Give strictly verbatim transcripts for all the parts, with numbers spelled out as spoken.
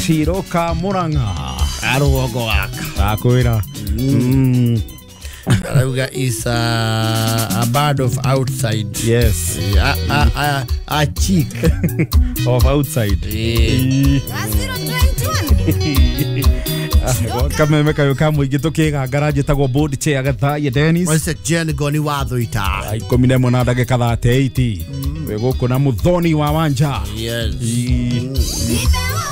Gaciro ka Murang'a. Arũgongo gaka. Ndakwĩra. Mm. Arauga is a, a bird of outside. Yes. A, a, a, a chick of outside. Eh. Kameme kayo ka mũingĩ tũkĩgangara njĩtagwo board chair Gathaia Dennis. Wese Jen Goni watho ita. Ikũmi na ĩmwe na ndagĩka thate eight. Wĩ gũkũ na Muthoni wa Wanja. Yes.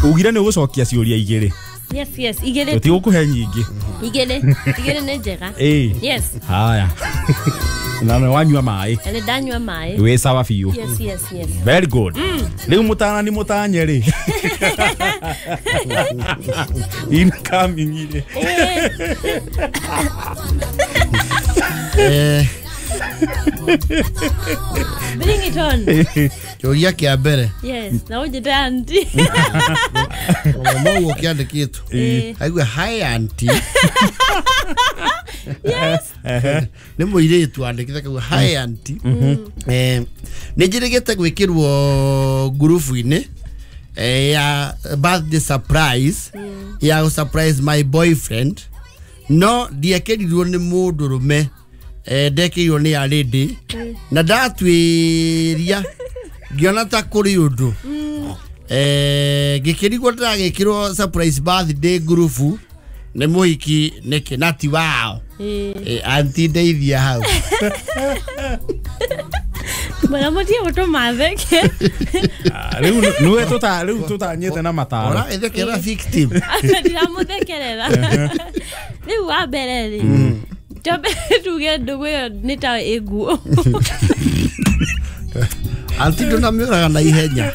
Ugire nĩ ũgũcokia ciũria igĩrĩ. Yes, yes, igĩrĩ. Tũtigũkũhe nyingĩ. Igĩrĩ, igĩrĩ nĩ njega. Ĩĩ. Yes. Haya. Na nĩ wanyua maĩ. Na nĩ ndanyua maĩ. Wĩ sawa biũ. Yes, yes, yes. Very good. Rĩu mũtarani mũtanye rĩ. Incoming rĩ. Eh. Bring it on. Kĩũria kĩa mbere. Yes, na ũnjĩte auntie. Mũguo kĩandĩkĩtwo. Aigua hi auntie. Yes. Nĩ mũirĩtu andĩkĩte kauga hi auntie. Eh, nĩ njĩrĩgĩte gwĩkĩrwo ngurubu-inĩ ya birthday surprise ya surprise my boyfriend. No ndiekĩrirwo nĩ mũndũrũme. Eh, ndekĩirwo nĩ a lady na ndatwĩria ngĩona ta kũrĩ ũndũ eh ngĩkĩrigwo ndĩragĩkĩrwo surprise birthday ngurubu nĩ mũhiki nĩkĩ na ti wao. Eh, auntie ndeithia hau. Bwana mũtie gũtũma theke. Rĩu nĩwe tũta rĩu tũtanyĩte na mataro. Ora ĩthekera victim. Ndiramũthekerera. Rĩu wa mbere rĩ Tobe tuge ndũgũ ĩyo nĩ ta ĩnguo. Auntie ndũnamĩũraga na ihenya.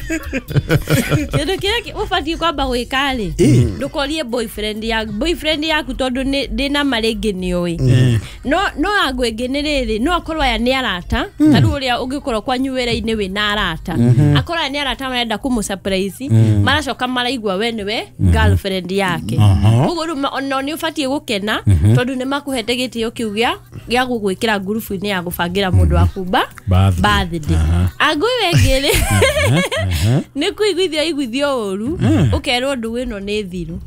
Kĩndũ kĩrĩa ũbatiĩ kwamba gwĩka rĩ, ndũkorie boyfriend yaku, boyfriend yaku tondũ ndĩna ma rĩngĩ nĩũĩ. No no angũ ĩngĩ nĩ rĩrĩ, no akorwo aya nĩ arata, ta rĩu ũrĩa ũngĩkorwo kwanyu wĩra-inĩ wĩna arata. Akorwo aya nĩ arata marenda kũmũ surprise, maracoka maraigua we nĩwe girlfriend yake. Koguo rĩu ona nĩ ũbatiĩ gũkena tondũ nĩ makũhete gĩtĩo kĩu gĩa gĩa gũgwĩkĩra ngurubu-inĩ ya gũbangĩra mũndũ waku birthday. Angũ ĩyo ĩngĩ rĩ, nĩ kũiguithio iguithio ũru, ũkerwo ndũgũ ĩno nĩ thiru.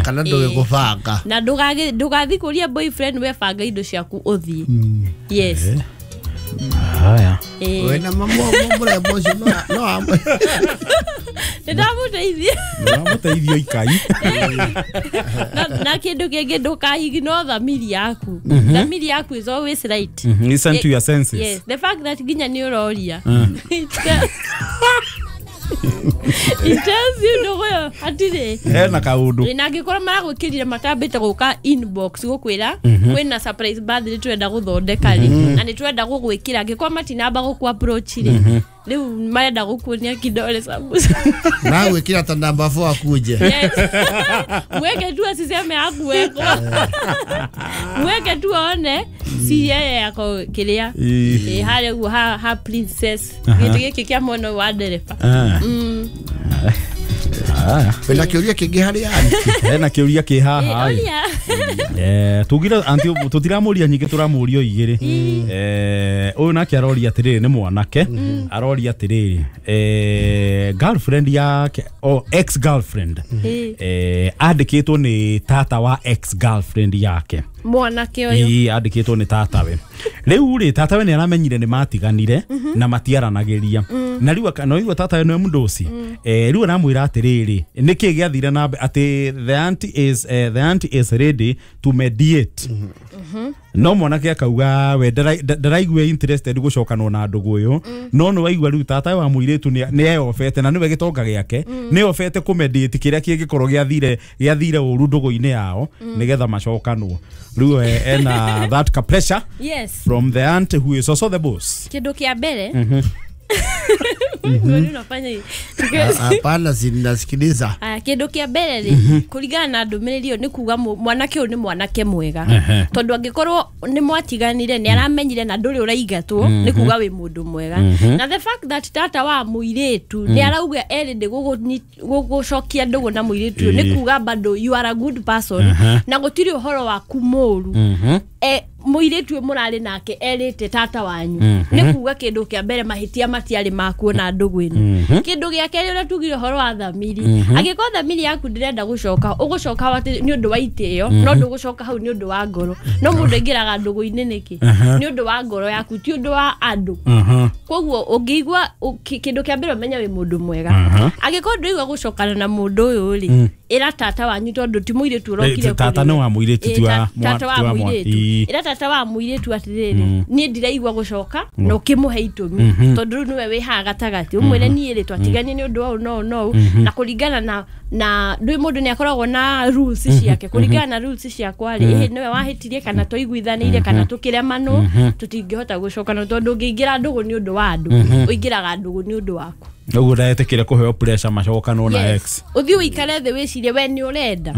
Kana ndũgĩ gũbanga. Na ndũgathiĩ kũria boyfriend we banga indo ciaku ũthiĩ. Yes. Haya. Wĩna mũrembo ũcio no amwe. Nĩ ndamũteithia. Ndamũteithia ikai. Na kĩndũ kĩngĩ ndũka-ignore thamiri yaku. Thamiri yaku is always right. Listen to your senses. Yes, the fact that nginya nĩ ũroria. It tells you ndũgũ ĩyo hatirĩ. Hena kaũndũ. Na angĩkorwo maragwĩkĩrire matambĩte gũka inbox gũkwĩra kwĩna surprise birthday twenda gũthondeka rĩ, na nĩ twenda gũgwĩkĩra, angĩkorwo matinamba gũkũ approach rĩ, rĩu marenda gũkuonia kidole sambusa. Na gwĩkĩra ta namba four akuje. Yes. Mweke tu asiseme hakuwekwa. Mweke tu aone si yeye yako kĩrĩa. Ĩ harĩa ũguo ha ha princess. Gĩtĩ gĩkĩ kĩa mwena wa ndereba. Mm. Wĩna kĩũria kĩngĩ harĩ auntie? Hena kĩũria kĩ haha. Eh, tugira auntie tũtiramũria nyingĩ tũramũria igĩrĩ. Eh, ũyũ nake aroria atĩrĩrĩ nĩ mwanake, aroria atĩrĩrĩ, eh girlfriend yake o ex girlfriend. Eh, andĩkĩtwo nĩ tata wa ex girlfriend yake. Mwanake ũyũ. Ĩĩ, andĩkĩtwo nĩ tatawe. Rĩu rĩ tatawe nĩ aramenyire nĩ matiganire na matiaranagĩria. Na rĩu no igua tatawe nĩwe mũndũci. Eh, rĩu aramwĩra atĩrĩrĩ, nĩkĩ gĩathire na atĩ the auntie is uh, the auntie is ready to mediate. No mwanake akauga we ndaraigua interested gũcokanwo na ndũgũ ũyũ, no nĩ waigua rĩu tata wa mũirĩtu nĩ eyobete na nĩwe gĩtonga gĩake nĩ eyobete kũmediate kĩrĩa kĩngĩkorwo gĩathire gĩathire ũru ndũgũ-inĩ yao nĩgetha macokanwo. Rĩu ena that ka pressure. Yes. From the aunt who is also the boss. Kĩndũ kĩa mbere. Wewe unafanya hivi. Hapana, sinasikiliza. Aya, kĩndũ kĩa mbere rĩ, kũringana na ndũmĩrĩri ĩyo nĩ kuga mwanake ũyũ nĩ mwanake mwega. Tondũ angĩkorwo nĩ mwatiganire nĩ aramenyire na ndũrĩ ũraigatwo, nĩ kuga wĩ mũndũ mwega. Na the fact that tata wa mũirĩtu nĩ arauga erĩ ndĩ gũgũcokia ndũgũ na mũirĩtu ũyũ, nĩ kuga bado you are a good person na gũtirĩ ũhoro waku mũru. Eh, Mũirĩtu ũyũ mũrarĩ nake erĩte tata wanyu nĩ kuga kĩndũ kĩa mbere mahĩtia matiarĩ makuo na ndũgũ ĩno. Kĩndũ gĩa kerĩ ũrĩa tugire ũhoro wa thamiri, angĩkorwo thamiri yaku ndĩrenda gũcoka, ũgũcoka hau atĩ nĩ ũndũ wa itĩo, no ndũgũcoka hau nĩ ũndũ wa ngoro. No mũndũ aingĩraga ndũgũ-inĩ nĩkĩ? Nĩ ũndũ wa ngoro yaku, ti ũndũ wa andũ. Koguo ũngĩigua kĩndũ kĩa mbere ũmenye wĩ mũndũ mwega. Angĩkorwo ndũigua gũcokana na mũndũ ũyũ rĩ, ĩra tata wanyu tondũ ti mũirĩtu ũrokire. Tata nĩ wa mũirĩtu, ti wa tata wa mũirĩtu. Ĩra tata wa mũirĩtu atĩrĩrĩ, niĩ ndiraigua gũcoka, na ũkĩmũhe itũmi tondũ rĩu nĩwe wĩ haha gatagatĩ. Ũmwĩre niĩ rĩ twatiganie nĩ ũndũ wa ũũ na ũũ na ũũ, na kũringana na na ndũĩ mũndũ nĩ akoragwo na rules ciake, kũringana na rules ciakwa rĩ, ĩhĩ nĩwe wahĩtirie kana twaiguithanĩire kana tũkĩremanwo, tũtingĩhota gũcokana tondũ ũngĩingĩra ndũgũ nĩ ũndũ wa andũ, ũingĩraga ndũgũ nĩ ũndũ waku. Ũguo ndetĩkĩre kũheo pressure macokanwo na ex. Ũthiĩ ũikare thĩ wĩcirie we nĩ ũrenda.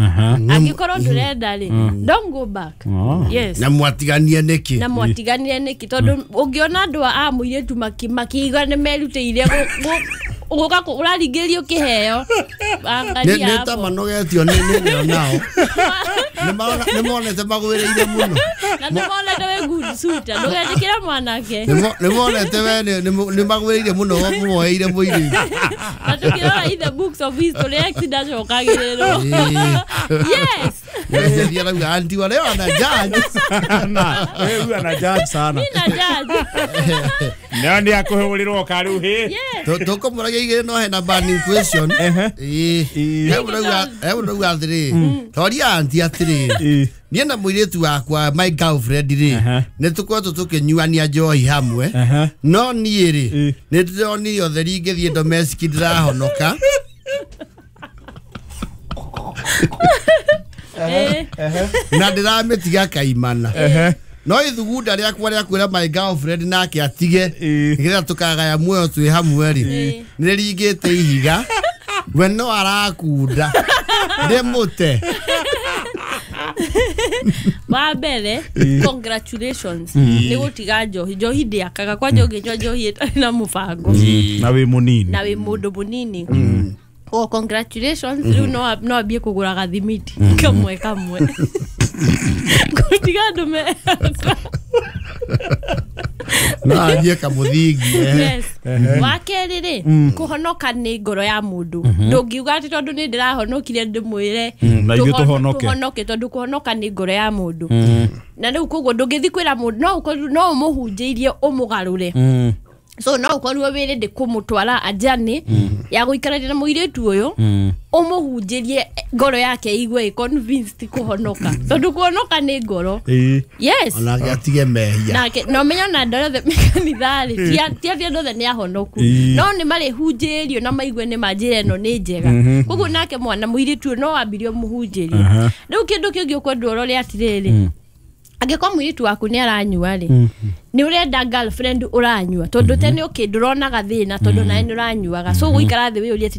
Angĩkorwo ndũrenda rĩ, don't go back. Yes. Na mwatiganie nĩkĩ? Na mwatiganire nĩkĩ? Tondũ ũngĩona andũ a mũirĩtu makiuga nĩ merutĩire gũka ũraringĩrĩrio kĩheo. Nĩ ta manogetio nĩ nĩ nao. Nĩ monete magwĩrĩire mũno. Na nĩ monete wĩ good suitor, ndũgetĩkĩre mwanake. Nĩ monete we nĩ magwĩrĩire mũno mũmoeire mũirĩtu. Na tũkĩrora in the books of history ex ndacokagĩrĩrwo. Yes. Nĩ arauga auntie wa leo ana judge. Na wewe ana judge sana. Mimi na judge. Nĩ nĩ akũhũrĩrwo karĩu hĩ. Tũkũmũragia igĩrĩ no hena burning question. Ĩĩ. He ũrauga atĩrĩ, toria auntie atĩrĩ, niĩ na mũirĩtu wakwa my girlfriend rĩ, nĩ tũkoretwo tũkĩnyuania njohi hamwe, no niĩ rĩ nĩ ndĩronire ũtheri ngĩthiĩ domestic ndĩrahonoka. Na ndĩramĩtiga kaimana. No ithugunda rĩakwa rĩa kwĩra my girlfriend nake atige nĩgetha tũkagaya muoyo twĩ hamwe rĩ, nĩ rĩringĩte ihiga, we no arakunda ndĩmũte. Wa mbere, congratulations nĩ gũtiga njohi. Njohi ndĩakaga, kwanja ũngĩnyua njohi ĩtarĩ na mũbango na wĩ mũnini, na wĩ mũndũ mũnini. Oh, congratulations, rĩu no no ambie kũgũra gathimiti kamwe kamwe. Gũtiga andũ me no ambie kamũthingi. Yes. Wa kerĩ rĩ, kũhonoka nĩ ngoro ya mũndũ. Ndũngiuga atĩ tondũ nĩ ndĩrahonokire ndĩmwĩre na ithuĩ tũhonoke, tũhonoke, tondũ kũhonoka nĩ ngoro ya mũndũ. Na rĩu koguo ndũngĩthiĩ kwĩra mũndũ, no ũkorwo no ũmũhunjĩirie ũmũgarũre. So no ũkorwo wĩrĩ ndĩ kũmũtwara ajani ya gũikarania na mũirĩtu ũyũ, ũmũhunjĩrie ngoro yake igue convinced kũhonoka, tondũ kũhonoka nĩ ngoro. Yes. Onake atige mehia. Nake no menyo na andũ othe kanitha rĩ, ti atĩ andũ othe nĩ ahonoku, no nĩ marĩhunjĩrio na maigue nĩ ma njĩra ĩno nĩ njega. Koguo nake mwana mũirĩtu ũyũ no ambirie ũmũhunjĩrie. Rĩu kĩndũ kĩngĩ ũkwendwo ũrore atĩrĩrĩ, angĩkorwo mũirĩtu waku nĩ aranyua rĩ, nĩ ũrenda girlfriend ũranyua, tondũ tene ũkĩ ndũronaga thĩna tondũ nawe nĩ ũranyuaga. So gũikara thĩ wĩyũrie atĩ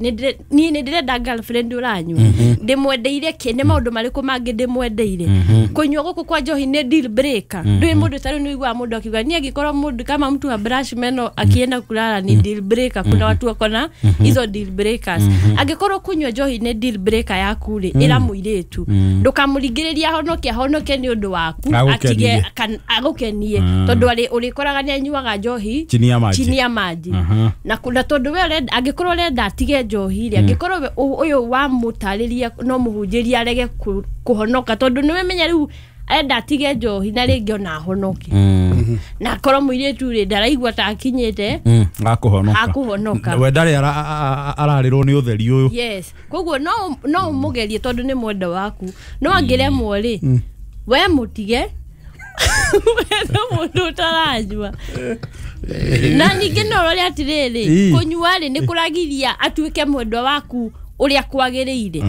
niĩ nĩ ndĩrenda girlfriend ũranyua, ndĩmwendeire kĩ, nĩ maũndũ marĩkũ mangĩ ndĩmwendeire. Kũnyua gũkũ kwa njohi nĩ deal breaker. Ndũĩ mũndũ ta rĩu nĩ ũiguaga mũndũ akiuga niĩ angĩkorwo mũndũ kama mtu ha brush meno akienda kulala ni deal breaker. Kuna watu wako na hizo deal breakers. Angĩkorwo kũnyua njohi nĩ deal breaker yaku rĩ, ĩra mũirĩtu ndũkamũringĩrĩrie ahonoke, ahonoke nĩ ũndũ waku, atige agũkenie, tondũ arĩ ũrĩkoraga nĩ anyuaga njohi chini ya maji, chini ya maji. Na na tondũ we ũrenda, angĩkorwo ũrenda atige njohi rĩ, angĩkorwo ũyũ wamũtarĩria no mũhunjĩrie arege kũhonoka, tondũ nĩwe menya rĩu arenda atige njohi na rĩngĩ ona ahonoke. Na akorwo mũirĩtu rĩ ndaraigua ta akinyĩte akũhonoka, akũhonoka, we ndarĩ ararĩrwo nĩ ũtheri ũyũ. Yes. Koguo no no ũmũgerie tondũ nĩ mwenda waku, no angĩremwo rĩ, we mũtige wethe mũndũ ũtaranyua. Na ningĩ no ũrore atĩrĩrĩ, kũnyua rĩ nĩ kũragiria atuĩke mwendwa waku ũrĩa kwagĩrĩire.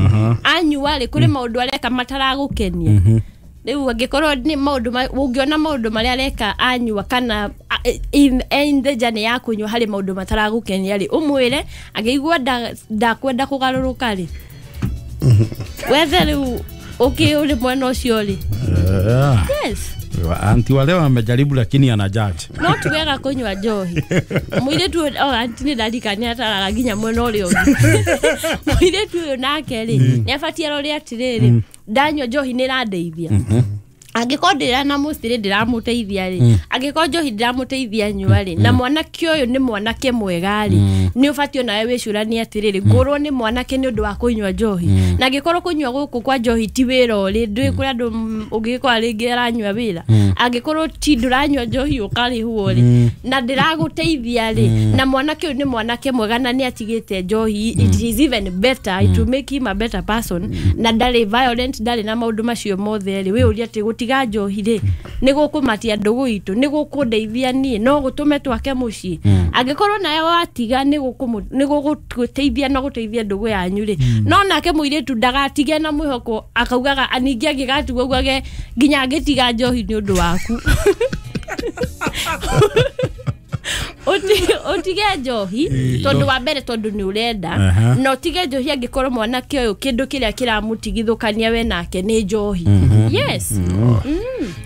Anyua rĩ, kũrĩ maũndũ areka mataragũkenia. Rĩu angĩkorwo nĩ maũndũ ũngĩona maũndũ marĩa areka anyua kana in the journey ya kũnyua harĩ maũndũ mataragũkenia rĩ, ũmwĩre. Angĩigua ndakwenda kũgarũrũka rĩ, wethe rĩu ũkĩ ũrĩ mwena ũcio rĩ. Yes. Auntie wa leo amejaribu lakini ana judge. No ti wega kũnyua njohi. Mũirĩtu oh auntie nĩ ndarikania ataraga nginya mwena ũrĩa ũngĩ. Mũirĩtu ũyũ nake rĩ, nĩ abatiĩ arore atĩrĩrĩ, ndanyua njohi nĩ ĩrandeithia. Angĩkorwo ndĩra mũcirĩ ndĩramũteithia rĩ, angĩkorwo njohi ndĩramũteithia nyua rĩ, na mwanake ũyũ nĩ mwanake mwega rĩ, nĩ ũbatiĩ onawe wĩcũranie atĩrĩrĩ, ngũrwo nĩ mwanake nĩ ũndũ wa kũnyua njohi. Na angĩkorwo kũnyua gũkũ kwa njohi ti wĩra ũrĩ, ndũĩ kũrĩ andũ ũngĩkora rĩngĩ aranyua wĩra, angĩkorwo ti ndũranyua njohi ũkarĩhwo rĩ, na ndĩragũteithia rĩ, na mwanake ũyũ nĩ mwanake mwega na nĩ atigĩte njohi, it is even better, it will make him a better person, na ndarĩ violent, ndarĩ na maũndũ macio mothe rĩ, wĩyũrie atĩ gũtiga njohi rĩ nĩ gũkũmatia ndũgũ itũ, nĩ gũkũndeithia niĩ, no gũtũme twake mũciĩ. Angĩkorwo nawe watiga nĩ gũgũteithia no gũteithia ndũgũ yanyu rĩ, no nake mũirĩtu ndagatige na mwĩhoko akaugaga ningĩ angĩgatigwo augage nginya ngĩtiga njohi nĩ ũndũ waku. Utige njohi tondu wa mbere tondu ni urenda, na utige njohi angikorwo mwanake uyu kindu kiria kiramutigithukania we nake ni njohi. Yes,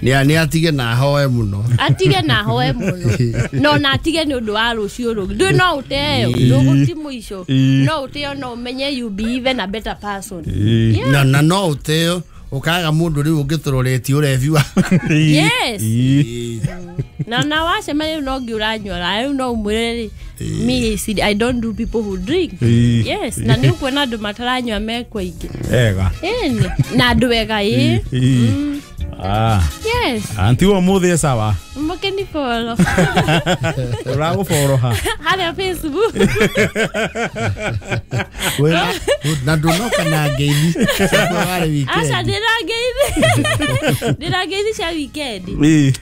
ni ni atige na hoe muno, atige na hoe muno, no na atige ni undu wa rucio rungi ndu no uteo nduguti muico no uteo no umenye you be even a better person. Na na no uteo ukaga mundu riu ungituroretie urebi wa. Yes, na na wacemania no ngi uranyua riu no umwire me I don't do people who drink. Yes, na ni ukuona andu mataranyua mekwa ingi ega eni na andu ega ii. Ah, yes, anti wa muthi sawa mukeni follow uragufollow ha haria Facebook wena na ndunoka na ngeithi wale weekend. Acha ndira ngeithi ndira ngeithi cia weekend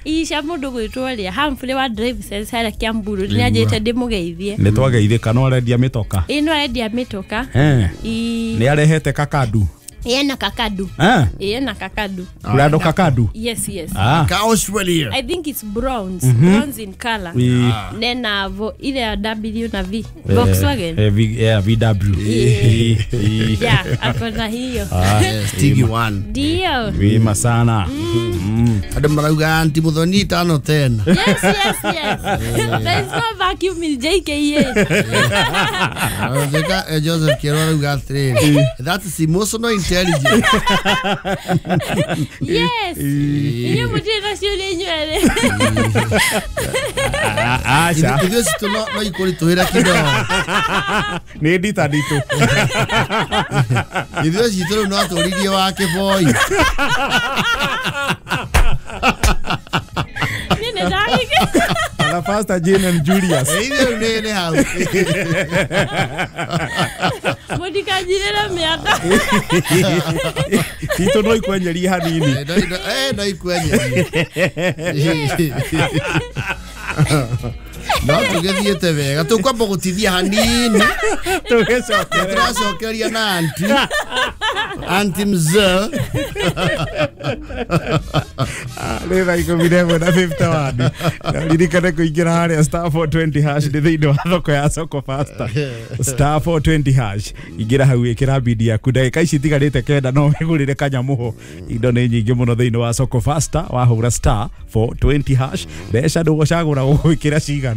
ii cia mundu gwitwo ria Humphrey wa Drive Sense haria Kiamburu ni anjite ndimugeithie. Ni twageithika no arendia mitoka ii no arendia mitoka ii ni arehete kakadu. Yena kakadu. Ah. Yena kakadu. Urado kakadu. Yes, yes. Ah. Ka Australia. I think it's bronze, mm -hmm. bronze in color. Ah. Nena vo ile ya W na V. Volkswagen. Eh, v, yeah, V W. Yeah, yeah, akona hiyo. Ah, Stigi one. Ndio. Wima sana. Mm. Mm. Ado marauga anti Muthoni tano tena. Yes, yes, yes. There is no vacuum in J K A. Zeka Joseph Kero arauga atĩrĩrĩ, that is emotional intelligence. Yes. Inyuĩ mũtirĩ na ciũria inyuerĩ. Aca. Ithuĩ citũ no no ikũritũhĩra kidogo. Nĩ ndita nditũ. Ithuĩ citũ rĩu no tũririe wa kĩboi. Niĩ nĩ ndagĩke. Ana Pastor Jane and Julius. Ithuĩ nĩ nĩ hau. Mũtikanjirĩre mĩaka. Tito no ikwenyeria hanini. Eh no ikwenyeria. No tũgĩthiĩte wega tũkwamba gũtithia hanini tũgĩcokeria tũracokeria na anti anti mzee nĩ thaa ikũmi na ĩmwe na fifty-one. Ririkane kũingĩra harĩa star four twenty hash nĩ thĩinĩ wa thoko ya Soko Faster. Star four twenty hash ingĩra hau ĩkĩra bidi yaku ndagĩka ici itigarĩte kenda no wĩgũrĩre kanyamũho. Indo nĩ nyingĩ mũno thĩinĩ wa Soko Faster wahũra star four twenty hash mbeca ndũgũcagũra gũgwĩkĩra cigana.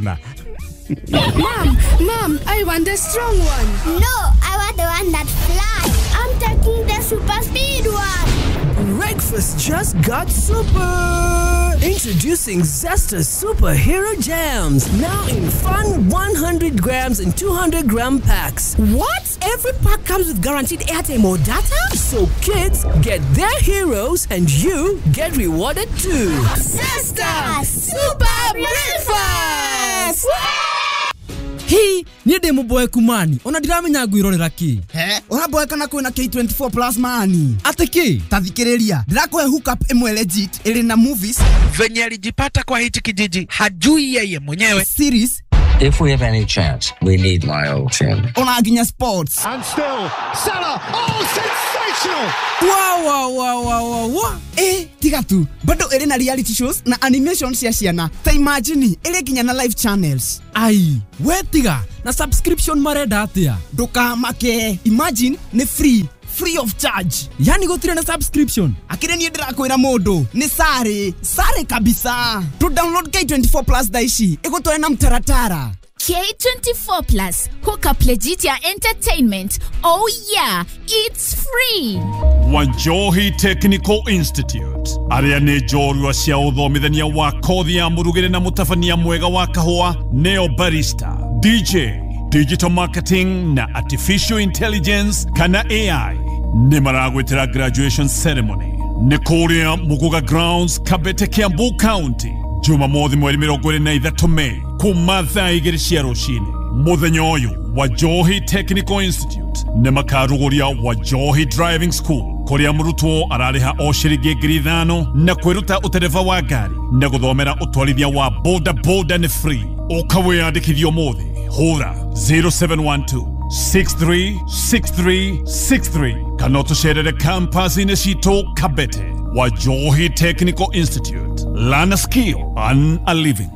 Mom, Mom, I want the strong one. No, I want the one that flies. I'm taking the super speed one. Breakfast just got super. Introducing Zesta Superhero Jams, now in fun one hundred grams and two hundred gram packs. What? Every pack comes with guaranteed airtime or data? So kids get their heroes and you get rewarded too. Zesta Super Breakfast! Hi, niĩ ndĩ mũboeku mani ona ndiramenya ngwirorera kĩ. He, ũraboeka na kwĩna K twenty-four plus mani. Atĩ kĩ? Ta thikĩrĩria, ndĩrakũhe hookup ĩmwe legit ĩrĩ na movies. Venye alijipata kwa hichi kijiji hajui yeye mwenyewe. Series. If we have any chance, we need my old team. Ona nginya sports. And still, Salah, oh, sensational! Wow, wow, wow, wow, wow. Eh, tiga tu. Bado ĩrĩ na reality shows na animation cia ciana. Ta imagine, ĩrĩ nginya na live channels. Ai, we tiga, na subscription marenda atia? Ndũkamake. Imagine, nĩ free. Free of charge. Yani gũtirĩ na subscription. Akĩrĩ niĩ ndĩrakwĩra mũndũ nĩ sare sare kabisa. To download K twenty-four plus thaa ici ĩgũtware na mtaratara. K twenty-four Plus, hook up legit ya entertainment. Oh yeah, it's free. Wanjohi Technical Institute aria nĩ njorua cia ũthomithania wa kothi ya mũrugĩre na mũtabania mwega wa kahũa neo barista, D J, digital marketing na artificial intelligence kana A I nĩ maragwĩtĩra graduation ceremony nĩ kũrĩa Muguga Grounds, Kabete, Kiambu County, Jumamothi mweri mĩrongo ĩrĩ na ithatũ Mei kuma thaa igĩrĩ cia rũcinĩ. Mũthenya ũyũ Wajohi Technical Institute nĩ makarugũria Wajohi Driving School kũrĩa mũrutwo ararĩha o ciringi ngiri ithano na kwĩruta ũtereba wa ngari na gũthomera ũtwarithia wa boda boda nĩ free. Ũka wĩyandĩkithie ũmũthĩ, hũra zero seven one two six three six three six three kana ũtũcerere campus-inĩ citũ Kabete. Wajohi Technical Institute, learn a skill, earn a living.